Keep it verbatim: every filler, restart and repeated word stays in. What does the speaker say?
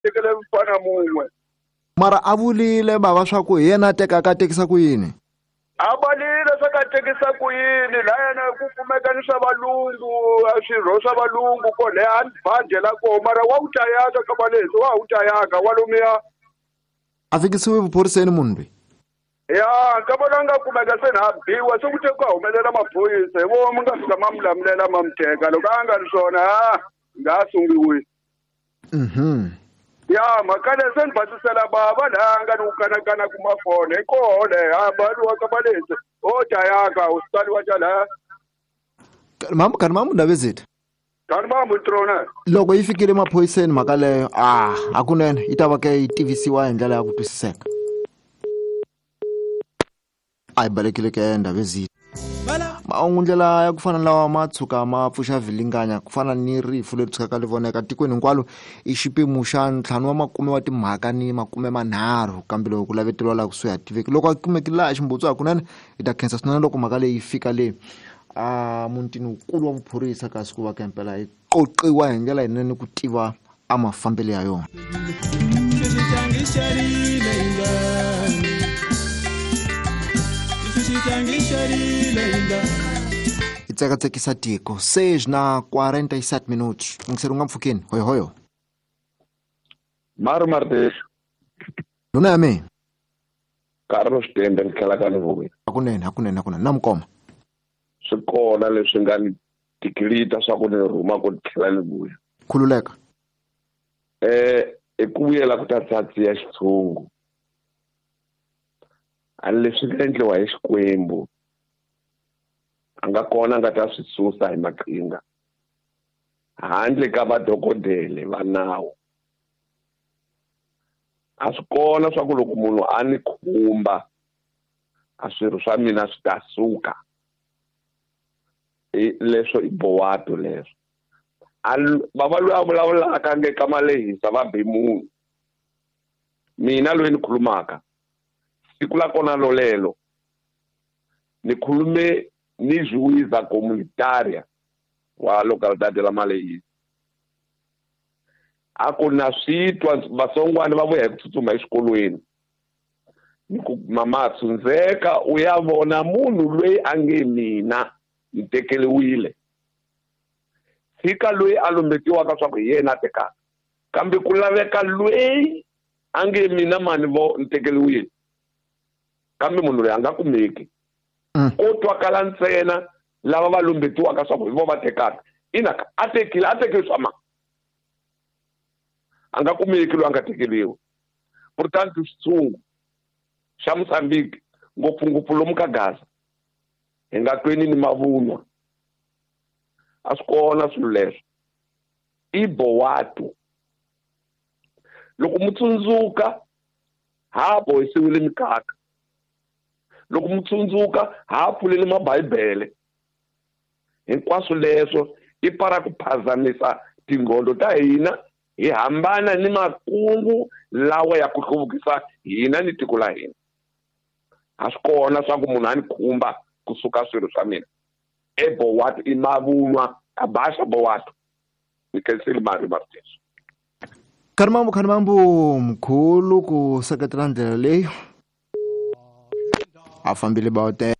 Tekele mfana mun'we. Mara a vulile bava swa ku hi yena a tekaka a tekisa ku yini? A valile swa ka tekisa ku yini la yena ku kumeka ni swa valungu swirho swa valungu ko le a banje la ko mara wa wu tayaka ka balesi wa wu tayaka wa lomiya. A fikisiwe vuphoriseni munhu loyi? Ya ka vona nga kumeka se na biwa se ku te ku humelela maphorisa hi vo mi nga fika ma mi lamulela ma mi teka loko a nga ri swona ha nga sungiwi. Mhm. Ya mhaka leyi se ni basisela bava laha nga ni ku kanakana ku mafona hi koho le ha baliwa ka balesi o tayaka u sitaliwa ta laha. Mamu kani mamu Ndabezitha. Kani mamu Ntrona. Loko yi fikile maphoriseni mhaka leyo ah hakunene yi ta va ke yi tivisiwa hi ndlela ya ku twisiseka. A yi balekile ke Ndabezitha. Mahungu ndlela ya ku fana lawa ma tshuka ma pfuxa vilinganya ku fana ni rifu leri tshukaka ri voneka tikweni hinkwalo i xipimo xa ntlhanu wa makume wa timhaka ni makume manharhu kambe loko ku laveteriwa laha kusuhi a tiveki loko a kumekile laha ximbutsu hakunene hi ta khensa swinene loko mhaka leyi fika le a mutini wukulu wa vuphorisa kasi ku va ka impela yi qoqiwa hi ndlela yinene ku tiva a mafambelo ya yona. Hi tsekatsekisa tiko seis na quarenta e sete minutos ngiseri u nga mpfhukeni hoyo hoyo. Maro Martes. Ndhuna ya mina. Carlos Tende ni tlhela ka ni vuya. Hakunene hakunene hakunene na mukoma. Swi kona leswi nga ni tikilita swa ku ni rhuma ku tlhela ni vuya. Khululeka. Eh i ku vuyela ku ta tsatsi ya xitshungu. A leswi nga endliwa hi Xikwembu a nga kona a nga ta swi susa hi maqhinga handle ka vadokodele va nawu. A swi kona swa ku loko munhu a ni khumba a swirho swa mina swi ta suka. I leswo i bowato leswo. A bava loyi a vulavulaka nge ka malehisa va be munhu. Mina loyi ni khulumaka siku la kona lolelo ni khulume ni juiza comunitaria wa localidade la Malehisa. A ku na swi twa vasongwana va vuya hi ku tsutsuma exikolweni. Ni ku mama tsundzeka u ya vona munhu loyi a nge mina ni tekeriwile. Tshika loyi a lumbetiwaka swa ku hi yena a tekaka kambe ku laveka loyi a nge mina mani vo ni tekeriwile kambe munhu loyi a nga kumeki. Ko twakala ntsena lava va lumbetiwaka swa ku hi vo va tekaka ina a tekile a tekile swa ma a nga kumeki loyi a nga tekeriwi. Portanto xitshungu xa Mozambique ngopfungopfu lomu ka Gaza hi nga tweni ni mavunwa. A swi kona swilo leswo i bowato. Loko mu tsundzuka ha bohisiwile mikaka. Loko mu tsundzuka ha pfulele mabibele. Hinkwaswo leswo i para ku phazamisa tinghondo ta hina hi hambana ni makungu lawa ya ku hluvukisa hina ni tiko la hina. A swi kona swa ku munhu a ni khumba kusuka swilo swa mina. E bowato i mavunwa a baxa bowato. Ni khensile mari Martins. Kharimambu Kharimambu mkhulu ku seketela ndlela leyi a fambile bawute.